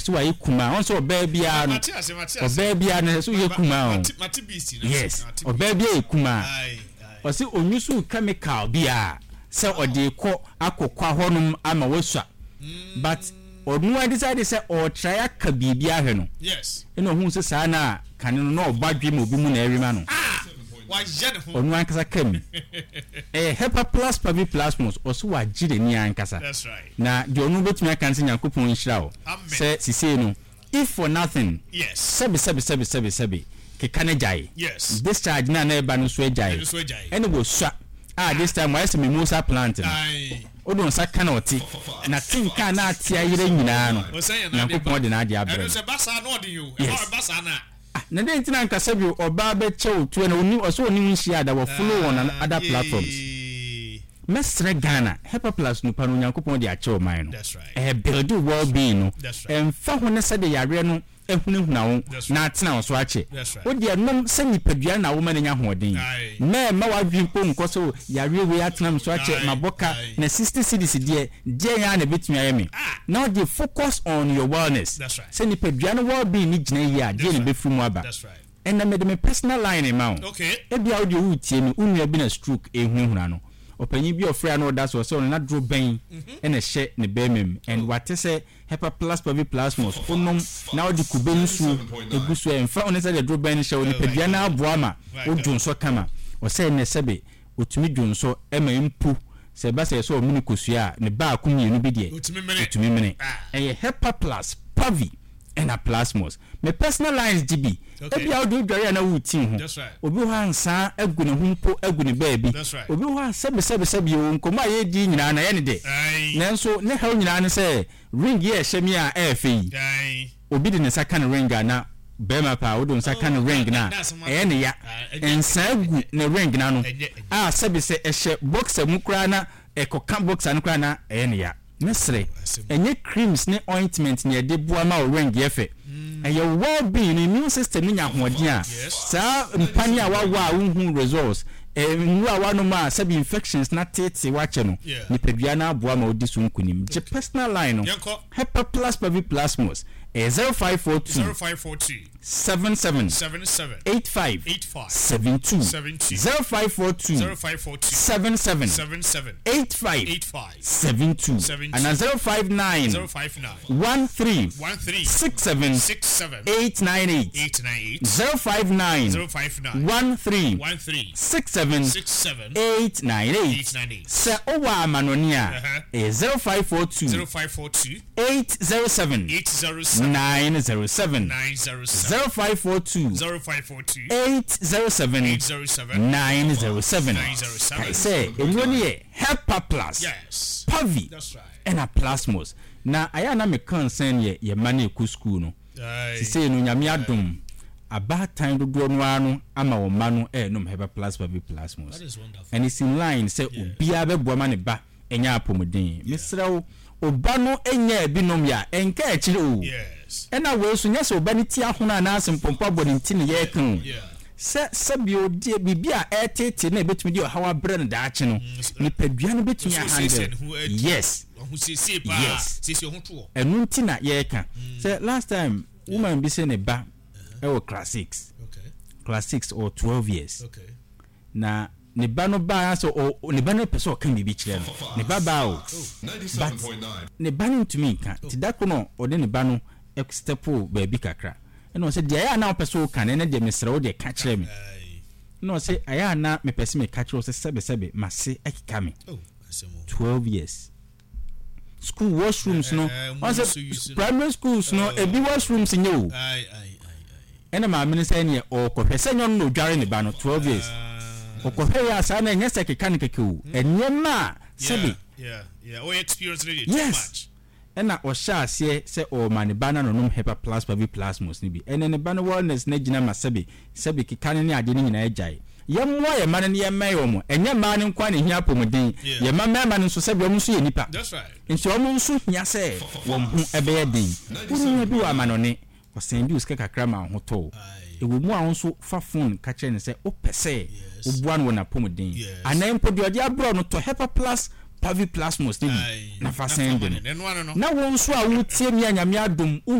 Ɔse wayɛ kumaa. Ɔn sɛ ɔbaa biara no, ɔbaa biara no ɛsɛ sɛ woyɛ kumaa o. Yes, ɔbaa biara yɛ kumaa. Ɔse ɔnyusu chemical biara sɛ ɔde rekɔ akɔ kwa hɔnom ama wasua. But ɔno ara decide sɛ ɔretry aka biribi ahwɛ no. Ɛna ɔhuu sɛ saa na kane no na ɔbɔ adwe ma obi mu na ɛwe ma no. Ɔno ankasa ka mu. Ɛyɛ Hepaplus paviplasmus, ɔse wagye n'ani ankasa. Na deɛ ɔno bɛtumi aka ne sɛ Nyankopɔn nhyira wo sɛ sisei no if for nothing sɛbe sɛbe sɛbe sɛbe sɛbe keka no agyae, discharge no a na ɛba no nso agyae, ɛne wasua a this time wayɛ sɛ mimosa plant no wode wo nsa ka na ɔte na te nka a na ate ayerɛ nyinaa no Nyankopɔn de n'adeɛ abrɛ no. Yes. Ah na dɛn nti na anka sɛbi ɔbaa bɛkyɛ wo tuo na ɔni ɔsɛ ɔne wo nhyia da wɔ follow on other platforms mɛsrɛ Ghana Hepaplus nupa no Onyankopɔn de akyɛ ɔman no ɛɛ build well being no ɛnfa ho ne sɛdeɛ yareɛ no ahunahuna wo na atena wo so akyɛ wo deɛ nom sɛ nipadua no na woma no nya ahoɔden mɛɛma w'adwene mpo nkɔ sɛ yareɛ wei atena me so akyɛ mabɔ ka na 60 cedis deɛ Deɛn ara na ɛbɛtumi ayɛ me? Na ɔde focus on your wellness. Sɛ nipadua no well being no gyina yie a, deɛn na ɛbɛfiri mu aba? Ɛnnɛ mede me personal line rema wo. Ebia wo deɛ woretie me, wo nua bi na stroke rehunahuna no. Ɔpanyin bi a ɔfrɛɛ a na ɔda so, ɔsɛ ɔno n'aduro bɛn na ɛhyɛ ne barima mu and wate sɛ Hepaplus paviplasmus wonom na wode kube nsuo gu so a ɛmfa ho ne sɛdeɛ aduro bɛn no hyɛ wo nipadua no aboa ma wodwo nsɔ kama. Ɔsɛ ɛnnɛ sɛbe Ɔtumi dwonsɔ ma mpo sɛ ɛba sɛ ɛsɛ ɔmene kosua a, ne baako mmienu bi deɛ ɔtumi mene. Ɛyɛ Hepaplus, Pavi ɛna Plasmos. Me personal lines gye bi. Ebia wode wodware a na woreti wo ho. Obi wɔ hɔ a nsaa agu ne ho mpo agu ne baabi. Obi wɔ hɔ a sɛbesɛbesɛbe oo, nkɔmmɔ a yɛredi yi nyinaa no ɛyɛ ne dɛ. Nanso ne haw nyinaa ne sɛ ring yi a ɛhyɛ me a ɛyɛ fɛ yi, Obi de ne nsa ka ne ring a na barima paa wode wo nsa ka ne ring no a ɛyɛ ne ya. Nsaa gu ne ring no ano a sɛbe sɛ ɛhyɛ boxer mu koraa na ɛkɔka boxer no koraa na ɛyɛ ne ya. Mɛsrɛ, ɛnyɛ creams ne ointment na yɛde boa ma wo ring yɛ fɛ. Ɛyɛ wo well being no, immune system no nya ahoɔden a, saa mpane a woawɔ a wonhu results, nnuro a woanom a sɛbe infections no ateetee wo akyɛ no, nipadua no aboa ma wodi so nkunim. Gye personal line no. Hepaplas paviplasmus ɛyɛ 0542 0542 77 77 85 85 72 72 0542 0542 77 77 85 85 72 72 anaa 059 059 13 13 67 67 898 898 059 059 13 13 67 67 898 898. Sɛ wowɔ amanɔne a, ɛyɛ 0542 0542 807 807 907. 907 0542 0542 807 807 907. 907. Kae sɛ nnuro no yɛ Hepaplus, Yes. Pavi, That's right. ɛna Plasmos. Na ayɛ a na me concern yɛ yɛn mma no ɛkɔ sukuu no. Sesei no Nyame adom, abaatan dodoɔ no ara no ama wɔn mma no renom Hepaplus Pavi Plasmos. And it's in line sɛ obiara bɛboa ma ne ba anya apɔmuden. Mesrɛ wo, wo ba no nyaa bi nom yɛ a, ɛnka akyire o. Ɛna wei nso, nyɛ sɛ wo ba no ti ahono anaase mpɔmpɔ abɔ ne nti na yɛreka o. Sɛ sɛbio deɛ biribi a ɛreteetee no a ɛbɛtumi de ɔhaw abrɛ no daakye no, nipadua no bɛtumi ahandle. Yes. Yes. Ɛno nti na yɛreka sɛ last time woman bi sɛ ne ba ɛwɔ class six. Class six or 12 years. Na ne ba no baa sɛ ɔ ne ba no pɛ sɛ ɔka biribi kyerɛ no. Ne ba baa o. But ne ba no ntumi nka. Nti da ko no ɔde ne ba no step baabi kakra. Ɛna ɔsɛ deɛ ɛyɛ a na wopɛ sɛ woka no ɛnɛ deɛ mesrɛ wo deɛ ka kyerɛ me. Ɛna ɔsɛ ɛyɛ a na mepɛ sɛ meka kyerɛ wo sɛ sɛbesɛbe m'ase ɛkeka me. 12 years. School washrooms no, ɔn sɛ primary schools no ebi washrooms nyɛ o. Ɛna maame no sɛ ɛneɛ ɔɔkɔhwɛ sɛ nyɛ ɔno na ɔdware ne ba no 12 years. Ɔkɔhwɛ yɛ a saa na ɛnyɛ sɛ keka no kɛkɛ o. Nneɛma a sɛbe. Yes. Ɛna ɔhyɛɛ aseɛ sɛ ɔrema ne ba no anonom Hepaplus Paviplasmus no bi. Ɛnɛ ne ba no wellness no agyina ma sɛbe sɛbe keka no ne adeɛ no nyinaa agyae. Yɛmmoa yɛn mma no na yɛmmɛn wɔn. Ɛnyɛ mmaa no nko ara na ɛhia apɔmuden. Yɛn mma mmarima no nso sɛbe wɔn nso yɛ nnipa. Nti wɔn nso hia sɛ wɔn ho bɛyɛ den. Wo nua bi wɔ amanɔne, Ɔsɛnde wo sika kakra ma wo ho tɔ wo. Ɛwɔ mu a wo nso fa fon ka kyerɛ no sɛ wopɛ sɛ woboa no wɔ n'apɔmuden. Anaa mpo deɛ ɔde abrɛ wo no, tɔ Hepaplus Paviplasmus no bi na fa sɛnde no. Na wo nso a woretie me a Nyame adom wohu.